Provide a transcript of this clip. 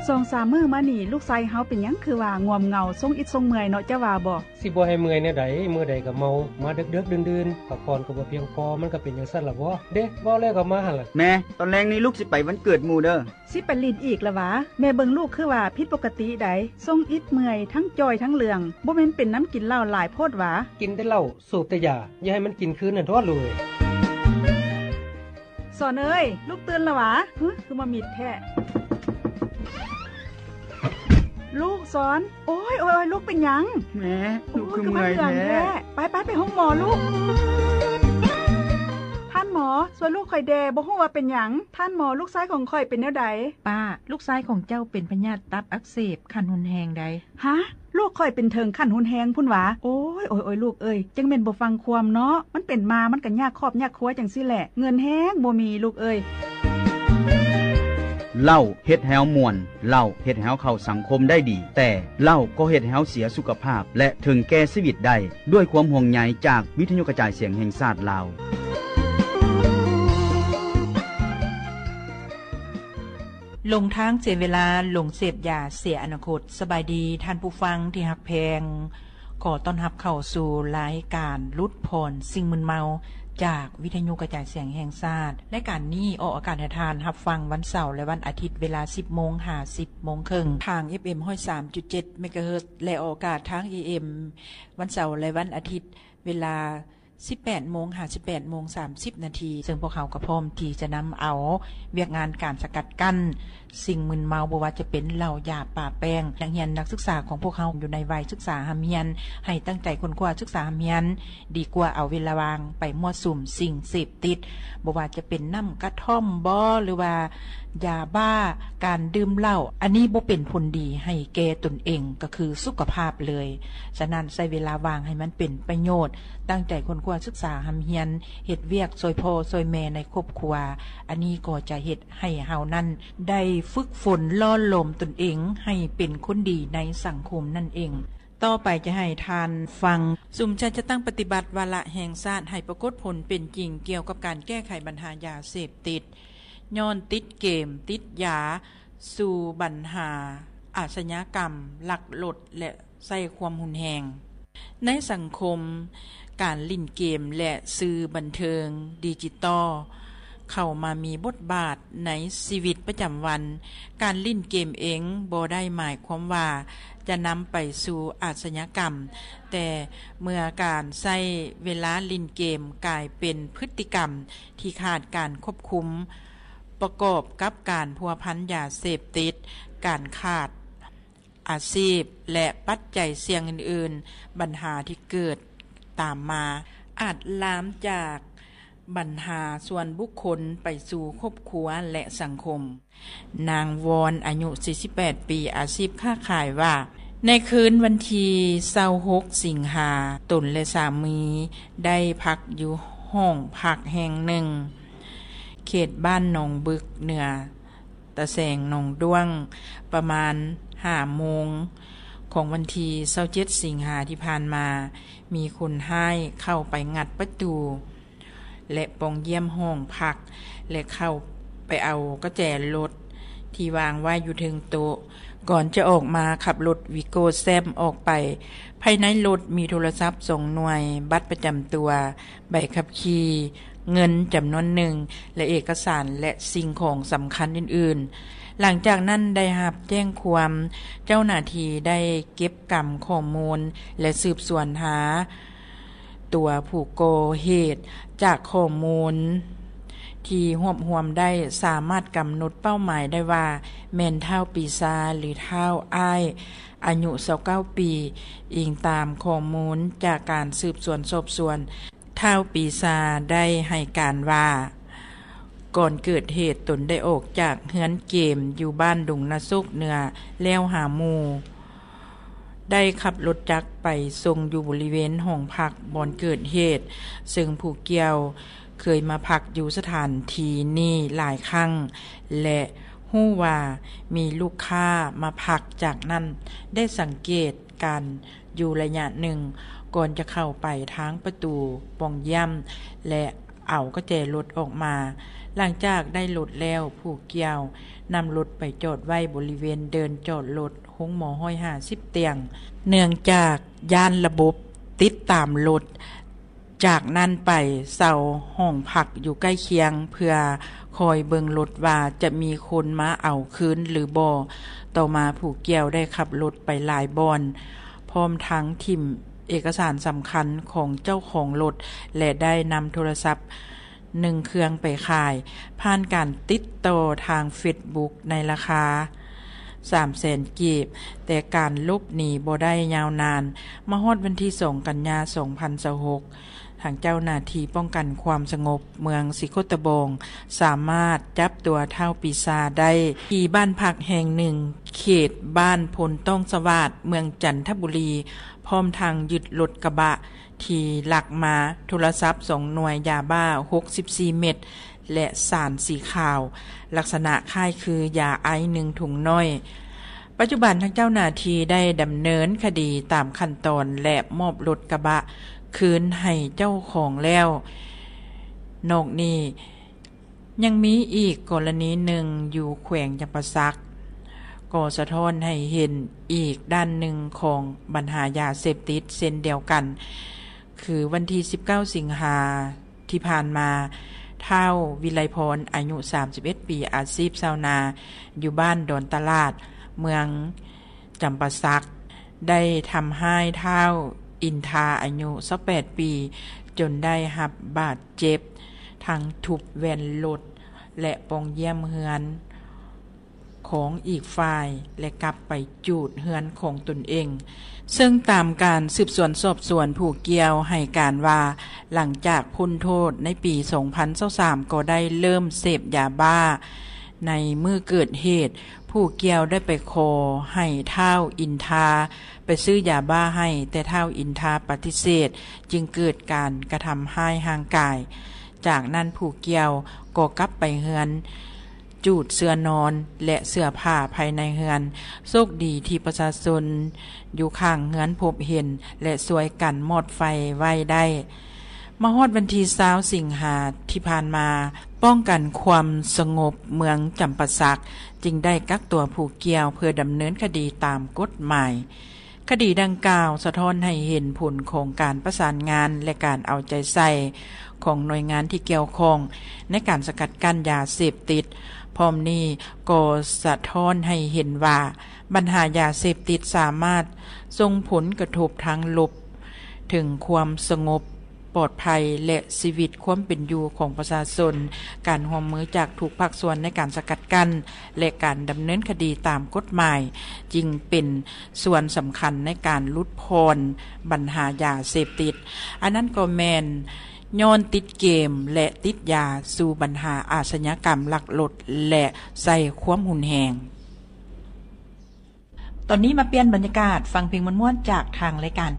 ສອງສາມມື້ມານີ້ ລູກຊາຍເຮົາເປັນຫຍັງຄືວ່າງ່ວມເຫງົາ ຊົງອິດຊົງເມື່ອຍເນາະ ເຈົ້າວ່າບໍ່? ຊິບໍ່ໃຫ້ເມື່ອຍແນວໃດ? ມື້ໃດກໍເມົາ ມາເດິກໆ ດື່ນໆ ພັກຜ່ອນກໍບໍ່ພຽງພໍ ມັນກໍເປັນຈັ່ງຊັ້ນລະບໍ? ເດ້ ເວົ້າແລ້ວກໍມາຫັ້ນລະ. ແມ່, ຕອນແລງນີ້ລູກຊິໄປວັນເກີດໝູ່ເດີ້. ຊິໄປຫຼິ້ນອີກລະຫວາ? ແມ່ເບິ່ງລູກຄືວ່າຜິດປົກກະຕິໃດ໋, ຊົງອິດເມື່ອຍ ທັງຈ່ອຍທັງເຫຼືອງ, ບໍ່ແມ່ນເປັນນຳກິນເຫຼົ້າຫຼາຍໂພດຫວາ? ກິນແຕ່ເຫຼົ້າ ສູບແຕ່ຢາ, ຢ່າໃຫ້ມັນກິນຄືນຫັ້ນໂທດລູກເອີຍ. ສອນເອີຍ, ລູກຕື່ນລະຫວາ? ຫຶ ຄືມາມິດແທ້. ລູກສອນ, ໂອ້ຍ ໂອ້ຍ ໂອ້ຍ ລູກເປັນຫຍັງ? ແມ່, ໂອ້ຍ ລູກຄືເມື່ອຍແທ້. ຄືມັນເຫຼືອງແທ້. ໄປ ໄປ ໄປໂຮງໝໍລູກ. ທ່ານໝໍ, ຊ່ວຍລູກຂ້ອຍແດ່, ບໍ່ຮູ້ວ່າເປັນຫຍັງ. ທ່ານໝໍ, ລູກຊາຍຂອງຂ້ອຍເປັນແນວໃດ? ປ້າ, ລູກຊາຍຂອງເຈົ້າເປັນພະຍາດຕັບອັກເສບຂັ້ນຮຸນແຮງໃດ໋. ຮະ? ລູກຂ້ອຍເປັນເຖິງຂັ້ນຮຸນແຮງພຸ້ນຫວາ? ໂອ້ຍ ໂອ້ຍ ໂອ້ຍ ລູກເອີຍ, ຈັ່ງແມ່ນບໍ່ຟັງຄວາມເນາະ. ມັນເປັນມາ ມັນກໍຍາກຄອບຍາກຄົວຈັ່ງຊີ້ແຫຼະ. ເງິນແຮງບໍ່ມີລູກເອີຍ. ເຫຼົ້າເຮັດໃຫ້ເຮົາມ່ວນ, ເຫຼົ້າເຮັດໃຫ້ເຮົາເຂົ້າສັງຄົມໄດ້ດີ, ແຕ່ເຫຼົ້າກໍເຮັດໃຫ້ເຮົາເສຍສຸຂະພາບ ແລະ ເຖິງແກ່ຊີວິດໄດ້. ດ້ວຍຄວາມຫ່ວງໃຍຈາກວິທະຍຸກະຈາຍສຽງແຫ່ງຊາດລາວ. ຫຼົງທາງເສຍເວລາ, ຫຼົງເສບຢາເສຍອະນາຄົດ. ສະບາຍດີທ່ານຜູ້ຟັງທີ່ຮັກແພງ, ຂໍຕ້ອນຮັບເຂົ້າສູ່ລາຍການຫຼຸດຜ່ອນສິ່ງມຶນເມົາ ຈາກວິທະຍຸກະຈາຍສຽງແຫ່ງຊາດ. ລາຍການນີ້ອອກອາກາດໃຫ້ທ່ານຮັບຟັງວັນເສົາ ແລະ ວັນອາທິດ ເວລາສິບໂມງຫາສິບໂມງເຄິ່ງ ທາງ ເອັຟເອັມ ຮ້ອຍສາມຈຸດເຈັດ ເມກາເຮີດ ແລະ ອອກອາກາດທາງ ເອເອັມ ວັນເສົາ ແລະ ວັນອາທິດ ເວລາສິບແປດໂມງຫາສິບແປດໂມງສາມສິບນາທີ, ເຊິ່ງພວກເຮົາກໍພ້ອມທີ່ຈະນຳເອົາວຽກງານການສະກັດກັ້ນສິ່ງມຶນເມົາ, ບໍ່ວ່າຈະເປັນເຫຼົ້າ, ຢາ, ປາແປ້ງ. ນັກຮຽນນັກສຶກສາຂອງພວກເຮົາຢູ່ໃນໄວສຶກສາຮ່ຳຮຽນ ໃຫ້ຕັ້ງໃຈຄົ້ນຄວ້າສຶກສາຮ່ຳຮຽນ ດີກວ່າເອົາເວລາວ່າງໄປມົ້ວສຸມສິ່ງເສບຕິດ, ບໍ່ວ່າຈະເປັນນ້ຳກະທ່ອມບໍ ຫຼືວ່າຢາບ້າ, ການດື່ມເຫຼົ້າ. ອັນນີ້ບໍ່ເປັນຜົນດີໃຫ້ແກ່ຕົນເອງ ກໍຄືສຸຂະພາບເລີຍ. ສະນັ້ນ ໃຊ້ເວລາວ່າງໃຫ້ມັນເປັນປະໂຫຍດ, ຕັ້ງໃຈຄົ້ນຄວ້າສຶກສາຮ່ຳຮຽນ, ເຮັດວຽກຊ່ວຍພໍ່ຊ່ວຍແມ່ໃນຄອບຄົວ. ອັນນີ້ກໍຈະເຮັດໃຫ້ເຮົານັ້ນໄດ້ຝຶກຝົນຫຼໍ່ຫຼອມຕົນເອງໃຫ້ເປັນຄົນດີໃນສັງຄົມນັ້ນເອງ. ຕໍ່ໄປຈະໃຫ້ທ່ານຟັງ ຊຸມຊາດຈັດຕັ້ງປະຕິບັດວາລະແຫ່ງຊາດໃຫ້ປາກົດຜົນເປັນຈິງກ່ຽວກັບການແກ້ໄຂບັນຫາຢາເສບຕິດ, ຍ້ອນຕິດເກມ, ຕິດຢາ, ສູ່ບັນຫາອາຊະຍາກຳ, ລັກລົດ ແລະ ໃຊ້ຄວາມຮຸນແຮງ. ໃນສັງຄົມ, ການຫຼິ້ນເກມ ແລະ ສື່ບັນເທີງດິຈິຕອລ ເຂົ້າມາມີບົດບາດໃນຊີວິດປະຈຳວັນ. ການຫຼິ້ນເກມເອງບໍ່ໄດ້ໝາຍຄວາມວ່າຈະນຳໄປສູ່ອາຊະຍາກຳ, ແຕ່ເມື່ອການໃຊ້ເວລາຫຼິ້ນເກມກາຍເປັນພຶດຕິກຳທີ່ຂາດການຄວບຄຸມ ປະກອບກັບການພົວພັນຢາເສບຕິດ, ການຂາດອາຊີບ ແລະ ປັດໄຈສ່ຽງອື່ນໆ, ບັນຫາທີ່ເກີດຕາມມາອາດລາມຈາກບັນຫາສ່ວນບຸກຄົນໄປສູ່ຄອບຄົວ ແລະ ສັງຄົມ. ນາງວອນ ອາຍຸສີ່ສິບແປດປີ, ອາຊີບຄ້າຂາຍ ວ່າ ໃນຄືນວັນທີຊາວຫົກສິງຫາ, ຕົນ ແລະ ສາມີ ໄດ້ພັກຢູ່ຫ້ອງພັກແຫ່ງໜຶ່ງ ເຂດບ້ານໜອງບຶກ ເໜືອຕາແສງໜອງດ້ວງ ປະມານຫ້າໂມງຂອງວັນທີຊາວເຈັດສິງຫາທີ່ຜ່ານມາ, ມີຄົນຮ້າຍເຂົ້າໄປງັດປະຕູ ແລະ ປ່ອງຢ້ຽມຫ້ອງພັກ ແລະ ເຂົ້າໄປເອົາກະແຈລົດທີ່ວາງໄວ້ຢູ່ເທິງໂຕະ. ກ່ອນຈະອອກມາຂັບລົດວີໂກ້ແຊມອອກໄປ. ພາຍໃນລົດມີໂທລະສັບສອງໜ່ວຍ, ບັດປະຈຳຕົວ, ໃບຂັບຂີ່, ເງິນຈຳນວນໜຶ່ງ ແລະ ເອກະສານ ແລະ ສິ່ງຂອງສຳຄັນອື່ນໆ. ຫຼັງຈາກນັ້ນໄດ້ຮັບແຈ້ງຄວາມ, ເຈົ້າໜ້າທີ່ໄດ້ເກັບກຳຂໍ້ມູນ ແລະ ສືບສວນຫາ ຕົວຜູ້ກໍ່ເຫດ. ຈາກຂໍ້ມູນທີ່ຮວບຮວມໄດ້ ສາມາດກຳນົດເປົ້າໝາຍໄດ້ວ່າ ແມ່ນທ້າວປີຊາ ຫຼື ທ້າວອ້າຍ ອາຍຸຊາວເກົ້າປີ. ອີງຕາມຂໍ້ມູນຈາກການສືບສວນສອບສວນ, ທ້າວປີຊາໄດ້ໃຫ້ການວ່າ ກ່ອນເກີດເຫດ ຕົນໄດ້ອອກຈາກເຮືອນເກມຢູ່ບ້ານດົງນາໂຊກເໜືອແລ້ວຫາໝູ່. ໄດ້ຂັບລົດຈັກໄປສົ່ງຢູ່ບໍລິເວນຫ້ອງພັກບ່ອນເກີດເຫດ, ເຊິ່ງຜູ້ກ່ຽວເຄີຍມາພັກຢູ່ສະຖານທີ່ນີ້ຫຼາຍຄັ້ງ ແລະ ຮູ້ວ່າມີລູກຄ້າມາພັກ. ຈາກນັ້ນໄດ້ສັງເກດການຢູ່ໄລຍະໜຶ່ງ ກ່ອນຈະເຂົ້າໄປທາງປະຕູປ່ອງຢ້ຽມ ແລະ ເອົາກະແຈລົດອອກມາ. ຫຼັງຈາກໄດ້ລົດແລ້ວ, ຜູ້ກ່ຽວນຳລົດໄປຈອດໄວ້ບໍລິເວນເດີ່ນຈອດລົດໂຮງໝໍຮ້ອຍຫ້າສິບຕຽງ. ເນື່ອງຈາກຢ້ານລະບົບຕິດຕາມລົດ, ຈາກນັ້ນໄປເຊົ່າຫ້ອງພັກຢູ່ໃກ້ຄຽງ ເພື່ອຄອຍເບິ່ງລົດວ່າຈະມີຄົນມາເອົາຄືນຫຼືບໍ່. ຕໍ່ມາຜູ້ກ່ຽວໄດ້ຂັບລົດໄປຫຼາຍບ່ອນ, ພ້ອມທັງຖິ້ມເອກະສານສຳຄັນຂອງເຈົ້າຂອງລົດ ແລະ ໄດ້ນຳໂທລະສັບ ໜຶ່ງເຄື່ອງໄປຂາຍ ຜ່ານການຕິດຕໍ່ທາງເຟສບຸກໃນລາຄາສາມແສນກີບ, ແຕ່ການຫຼົບໜີບໍ່ໄດ້ຍາວນານ. ມາຮອດວັນທີສອງ ກັນຍາ ສອງພັນຊາວຫົກ, ທາງເຈົ້າໜ້າທີ່ປ້ອງກັນຄວາມສະຫງົບເມືອງສີໂຄດຕະບອງ ສາມາດຈັບຕົວທ້າວປີຊາໄດ້ທີ່ບ້ານພັກແຫ່ງໜຶ່ງ ເຂດບ້ານໂພນຕ້ອງສະຫວາດ ເມືອງຈັນທະບູລີ, ພ້ອມທັງຍຶດລົດກະບະ ທີ່ລັກມາ, ໂທລະສັບສອງໜ່ວຍ, ຢາບ້າຫົກສິບສີ່ເມັດ ແລະ ສານສີຂາວ ລັກສະນະຄ້າຍຄືຢາໄອສ໌ໜຶ່ງຖົງນ້ອຍ. ປັດຈຸບັນທາງເຈົ້າໜ້າທີ່ໄດ້ດຳເນີນຄະດີຕາມຂັ້ນຕອນ ແລະ ມອບລົດກະບະຄືນໃຫ້ເຈົ້າຂອງແລ້ວ. ນອກນີ້ ຍັງມີອີກກໍລະນີໜຶ່ງຢູ່ແຂວງຈຳປາສັກ ກໍສະທ້ອນໃຫ້ເຫັນອີກດ້ານໜຶ່ງຂອງບັນຫາຢາເສບຕິດເຊັ່ນດຽວກັນ, ຄືວັນທີສິບເກົ້າ ສິງຫາທີ່ຜ່ານມາ, ທ້າວ ວິໄລພອນ ອາຍຸສາມສິບເອັດປີ, ອາຊີບຊາວນາ, ຢູ່ບ້ານດອນຕະຫຼາດ, ເມືອງ ຈຳປາສັກ ໄດ້ທຳຮ້າຍທ້າວ ອິນທາ ອາຍຸຊາວແປດປີ ຈົນໄດ້ຮັບບາດເຈັບ, ທັງທຸບແວ່ນລົດ ແລະ ປ່ອງຢ້ຽມເຮືອນຂອງອີກຝ່າຍ ແລະ ກັບໄປຈູດເຮືອນຂອງຕົນເອງ. ເຊິ່ງຕາມການສືບສວນສອບສວນ, ຜູ້ກ່ຽວໃຫ້ການວ່າ ຫຼັງຈາກພົ້ນໂທດໃນປີສອງພັນຊາວສາມ ກໍໄດ້ເລີ່ມເສບຢາບ້າ. ໃນມື້ເກີດເຫດ, ຜູ້ກ່ຽວໄດ້ໄປຂໍໃຫ້ທ້າວ ອິນທາ ໄປຊື້ຢາບ້າໃຫ້, ແຕ່ທ້າວ ອິນທາ ປະຕິເສດ, ຈຶ່ງເກີດການກະທຳຮ້າຍຮ່າງກາຍ. ຈາກນັ້ນຜູ້ກ່ຽວກໍກັບໄປເຮືອນ, ຈູດເສື່ອນອນ ແລະ ເສື້ອຜ້າພາຍໃນເຮືອນ. ໂຊກດີທີ່ປະຊາຊົນຢູ່ຂ້າງເຮືອນພົບເຫັນ ແລະ ຊ່ວຍກັນມອດໄຟໄວ້ໄດ້. ມາຮອດວັນທີຊາວ ສິງຫາທີ່ຜ່ານມາ, ປ້ອງກັນຄວາມສະຫງົບເມືອງຈຳປາສັກ ຈຶ່ງໄດ້ກັກຕົວຜູ້ກ່ຽວເພື່ອດຳເນີນຄະດີຕາມກົດໝາຍ. ຄະດີດັ່ງກ່າວສະທ້ອນໃຫ້ເຫັນຜົນຂອງການປະສານງານ ແລະ ການເອົາໃຈໃສ່ຂອງໜ່ວຍງານທີ່ກ່ຽວຂ້ອງໃນການສະກັດກັ້ນຢາເສບຕິດ. ພ້ອມນີ້ກໍສະທ້ອນໃຫ້ເຫັນວ່າ ບັນຫາຢາເສບຕິດສາມາດສົ່ງຜົນກະທົບທາງລົບເຖິງຄວາມສະຫງົບ ປອດໄພ ແລະ ຊີວິດຄວາມເປັນຢູ່ຂອງປະຊາຊົນ. ການຮ່ວມມືຈາກທຸກພາກສ່ວນໃນການສະກັດກັ້ນ ແລະ ການດຳເນີນຄະດີຕາມກົດໝາຍ ຈຶ່ງເປັນສ່ວນສຳຄັນໃນການຫຼຸດຜ່ອນບັນຫາຢາເສບຕິດ. ອັນນັ້ນກໍແມ່ນຍ້ອນຕິດເກມ ແລະ ຕິດຢາ ສູ່ບັນຫາອາຊະຍາກຳລັກລົດ ແລະ ໃຊ້ຄວາມຮຸນແຮງ. ຕອນນີ້ມາປ່ຽນບັນຍາກາດ, ຟັງເພງມ່ວນໆຈາກທາງລາຍການ.